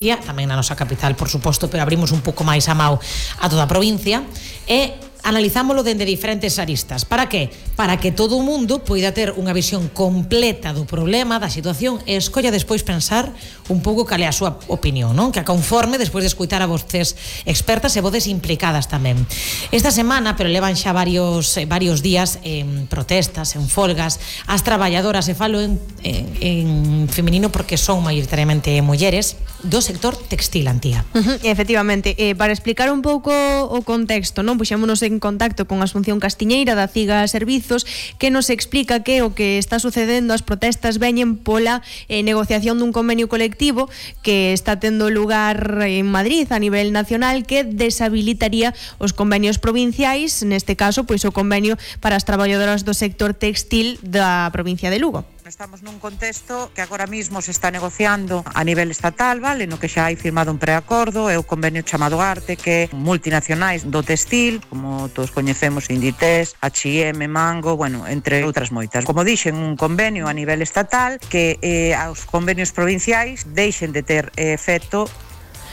tamén na nosa capital, por suposto, pero abrimos un pouco máis a mao a toda a provincia e analizámolo dende diferentes aristas. Para que? Para que todo o mundo poida ter unha visión completa do problema, da situación e escolla despois pensar un pouco cal é a súa opinión, non? Que a conforme despois de escutar a voces expertas e voces implicadas tamén. Esta semana, pero levan xa varios días en protestas, en folgas, as traballadoras, e falo en feminino porque son maioritariamente mulleres, do sector textil, Antía. Efectivamente, para explicar un pouco o contexto, non? Puxémonos en contacto con Asunción Castiñeira da CIGA Servizos, que nos explica que o que está sucedendo, as protestas veñen pola negociación dun convenio colectivo que está tendo lugar en Madrid a nivel nacional, que deshabilitaría os convenios provinciais, neste caso, pois o convenio para as traballadoras do sector textil da provincia de Lugo. Estamos nun contexto que agora mismo se está negociando a nivel estatal, vale, no que xa hai firmado un preacordo, é o convenio chamado Arte, que multinacionais do textil, como todos coñecemos, Inditex, H&M, Mango, bueno, entre outras moitas. Como dixen, un convenio a nivel estatal que aos convenios provinciais deixen de ter efecto.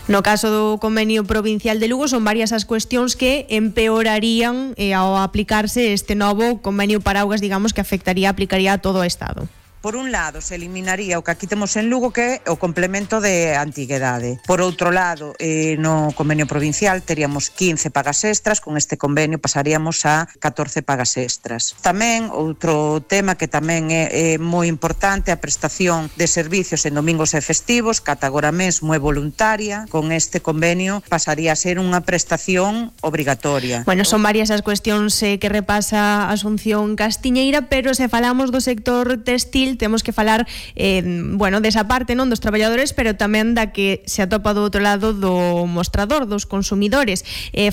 No caso do convenio provincial de Lugo son varias as cuestións que empeorarían ao aplicarse este novo convenio paraugas, digamos, que aplicaría a todo o Estado. Por un lado, se eliminaría o que aquí temos en Lugo, que é o complemento de antiguidade. Por outro lado, no convenio provincial teríamos 15 pagas extras, con este convenio pasaríamos a 14 pagas extras. Tamén, outro tema que tamén é moi importante, a prestación de servicios en domingos e festivos, que ata agora mesmo é voluntaria, con este convenio pasaría a ser unha prestación obrigatoria. Bueno, son varias as cuestións que repasa Asunción Castiñeira, pero se falamos do sector textil, temos que falar desa parte, non, dos traballadores, pero tamén da que se atopa do outro lado do mostrador, dos consumidores.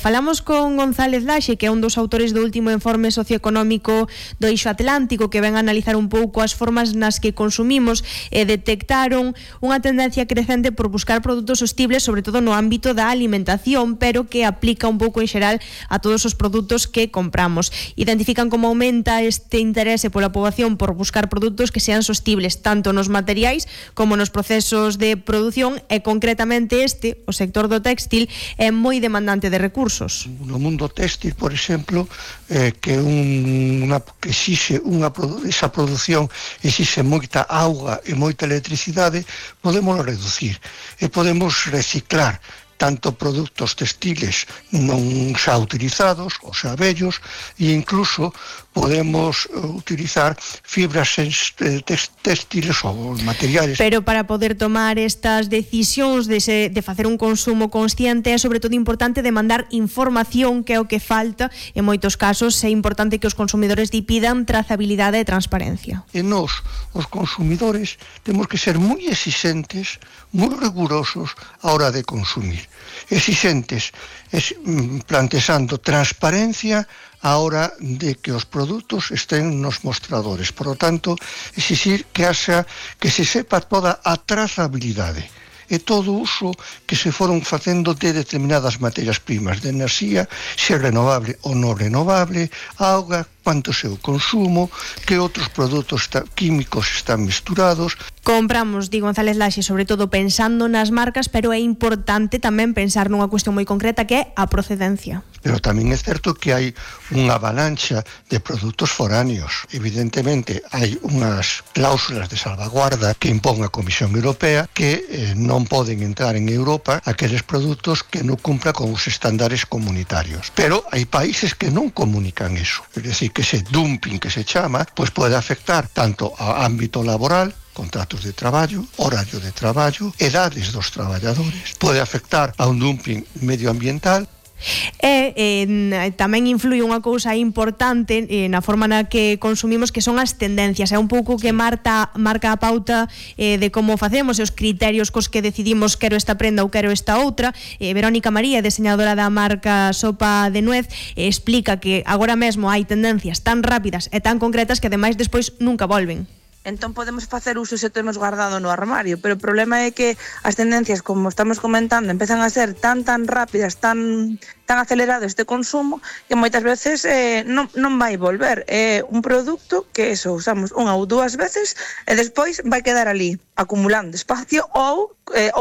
Falamos con González Laxe, que é un dos autores do último informe socioeconómico do Eixo Atlántico, que ven a analizar un pouco as formas nas que consumimos, e detectaron unha tendencia crecente por buscar produtos sostibles, sobre todo no ámbito da alimentación, pero que aplica un pouco en xeral a todos os produtos que compramos. Identifican como aumenta este interese pola poboación por buscar produtos que sean sostibles tanto nos materiais como nos procesos de produción, e concretamente o sector do textil, é moi demandante de recursos. No mundo textil, por exemplo, que exixe esa produción exixe moita auga e moita electricidade, podemos reducir e podemos reciclar tanto produtos textiles non xa utilizados, ou xa vellos, e incluso podemos utilizar fibras textiles ou materiales. Pero para poder tomar estas decisións de facer un consumo consciente é sobre todo importante demandar información, que é o que falta. En moitos casos é importante que os consumidores pidan trazabilidade e transparencia. E nós, os consumidores, temos que ser moi exigentes, moi rigurosos a hora de consumir. Exigentes, plantexando transparencia a hora de que os produtos estén nos mostradores. Por lo tanto, exigir que se sepa toda a trazabilidade e todo o uso que se foron facendo de determinadas materias primas de enerxía, se é renovable ou non renovable, auga, cuánto é o consumo, que outros produtos químicos están misturados. Compramos, di González Laxe, sobre todo pensando nas marcas, pero é importante tamén pensar nunha cuestión moi concreta, que é a procedencia. Pero tamén é certo que hai unha avalancha de produtos foráneos. Evidentemente, hai unhas cláusulas de salvaguarda que impón a Comisión Europea que non poden entrar en Europa aqueles produtos que non cumplan con os estándares comunitarios. Pero hai países que non comunican eso. É dicir, que ese dumping que se chama, pois pode afectar tanto ao ámbito laboral, contratos de traballo, horario de traballo, edades dos traballadores, pode afectar a un dumping medioambiental. Tamén influi unha cousa importante na forma na que consumimos, que son as tendencias. É un pouco que marca a pauta de como facemos e os criterios cos que decidimos quero esta prenda ou quero esta outra. Verónica María, deseñadora da marca Sopa de Nuez, explica que agora mesmo hai tendencias tan rápidas e tan concretas que ademais despois nunca volven. entón podemos facer uso se temos guardado no armario, pero o problema é que as tendencias, como estamos comentando, empezan a ser tan rápidas, tan acelerado este consumo, que moitas veces non vai volver. É un produto que usamos unha ou dúas veces e despois vai quedar ali acumulando espacio ou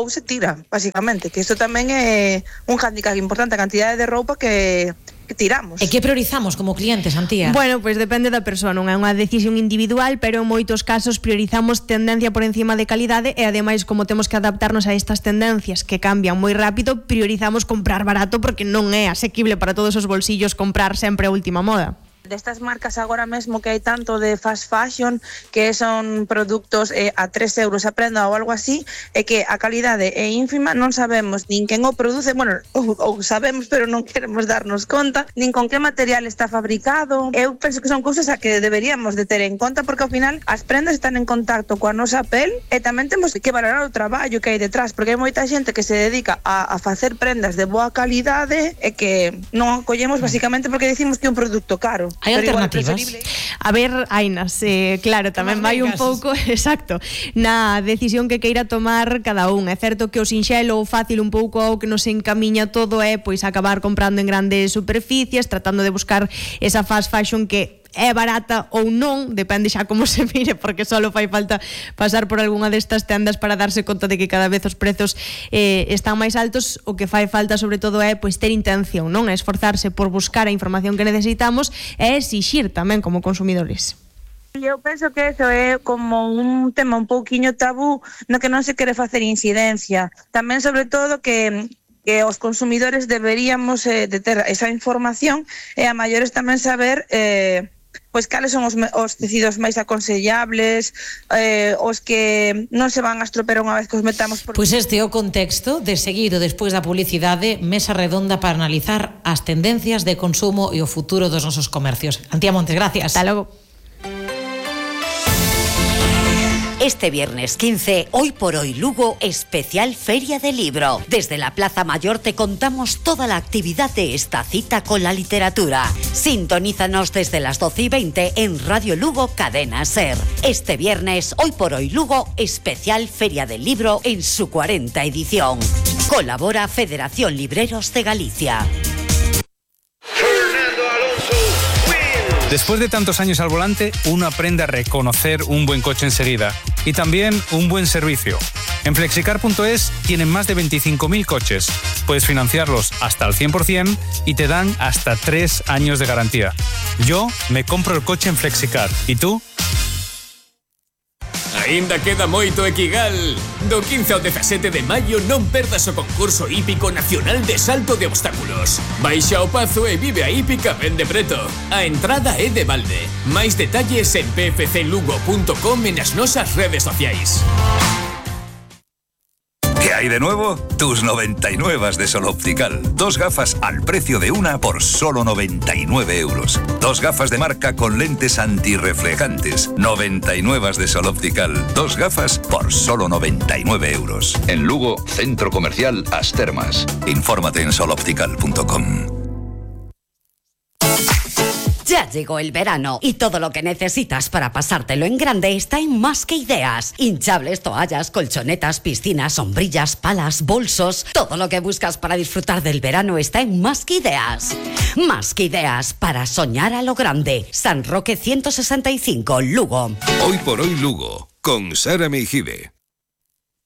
se tira, basicamente, que isto tamén é un hándicap importante, a cantidade de roupa que tiramos. E que priorizamos como clientes, Antía? Bueno, pois depende da persoa, non é unha decisión individual, pero en moitos casos priorizamos tendencia por encima de calidade e ademais como temos que adaptarnos a estas tendencias que cambian moi rápido, priorizamos comprar barato porque non é asequible para todos os bolsillos comprar sempre a última moda. Destas marcas agora mesmo que hai tanto de fast fashion, que son produtos a 3 euros a prenda ou algo así, e que a calidade é ínfima, non sabemos nin quen o produce, bueno, ou sabemos pero non queremos darnos conta, nin con que material está fabricado. Eu penso que son cousas a que deberíamos de ter en conta, porque ao final as prendas están en contacto coa nosa pel e tamén temos que valorar o traballo que hai detrás, porque hai moita xente que se dedica a facer prendas de boa calidade e que non acollemos basicamente porque decimos que é un produto caro. Hai alternativas? A ver, Ainas, claro, tamén vai un pouco, exacto, na decisión que queira tomar cada un. É certo que o sinxelo ou fácil un pouco ao que nos encamiña todo é pois acabar comprando en grandes superficies, tratando de buscar esa fast fashion que é barata ou non, depende xa como se mire, porque só fai falta pasar por algunha destas tendas para darse conta de que cada vez os prezos están máis altos. O que fai falta sobre todo é pois ter intención, non? É esforzarse por buscar a información que necesitamos e exixir tamén como consumidores. Eu penso que eso é como un tema un pouquiño tabú no que non se quere facer incidencia. Tamén sobre todo que os consumidores deberíamos de ter esa información e a maiores tamén saber pois cales son os tecidos máis aconsellables, os que non se van a estropear unha vez que os metamos por... Pois este é o contexto de seguido despois da publicidade, mesa redonda para analizar as tendencias de consumo e o futuro dos nosos comercios. Antía Montes, gracias. Hasta logo. Este viernes 15, Hoy por Hoy Lugo, especial Feria del Libro. Desde la Plaza Mayor te contamos toda la actividad de esta cita con la literatura. Sintonízanos desde las 12:20 en Radio Lugo Cadena Ser. Este viernes, Hoy por Hoy Lugo, especial Feria del Libro en su 40ª edición. Colabora Federación Libreros de Galicia. Después de tantos años al volante, uno aprende a reconocer un buen coche enseguida y también un buen servicio. En flexicar.es tienen más de 25.000 coches. Puedes financiarlos hasta al 100% y te dan hasta 3 años de garantía. Yo me compro el coche en Flexicar. ¿Y tú? Aínda queda moito Equigal. Do 15 ao 17 de maio non perdas o concurso hípico nacional de salto de obstáculos. Baixa ao Pazo e vive a hípica ben de preto. A entrada é de balde. Máis detalles en pfclugo.com e nas nosas redes sociais. ¿Qué hay de nuevo? Tus 99 de Sol Optical. 2 gafas al precio de una por solo 99 euros. 2 gafas de marca con lentes antirreflejantes. 99 de Sol Optical. 2 gafas por solo 99 euros. En Lugo, Centro Comercial As Termas. Infórmate en soloptical.com. Ya llegó el verano y todo lo que necesitas para pasártelo en grande está en Más que Ideas. Hinchables, toallas, colchonetas, piscinas, sombrillas, palas, bolsos. Todo lo que buscas para disfrutar del verano está en Más que Ideas. Más que Ideas para soñar a lo grande. San Roque 165, Lugo. Hoy por Hoy Lugo, con Sara Meijide.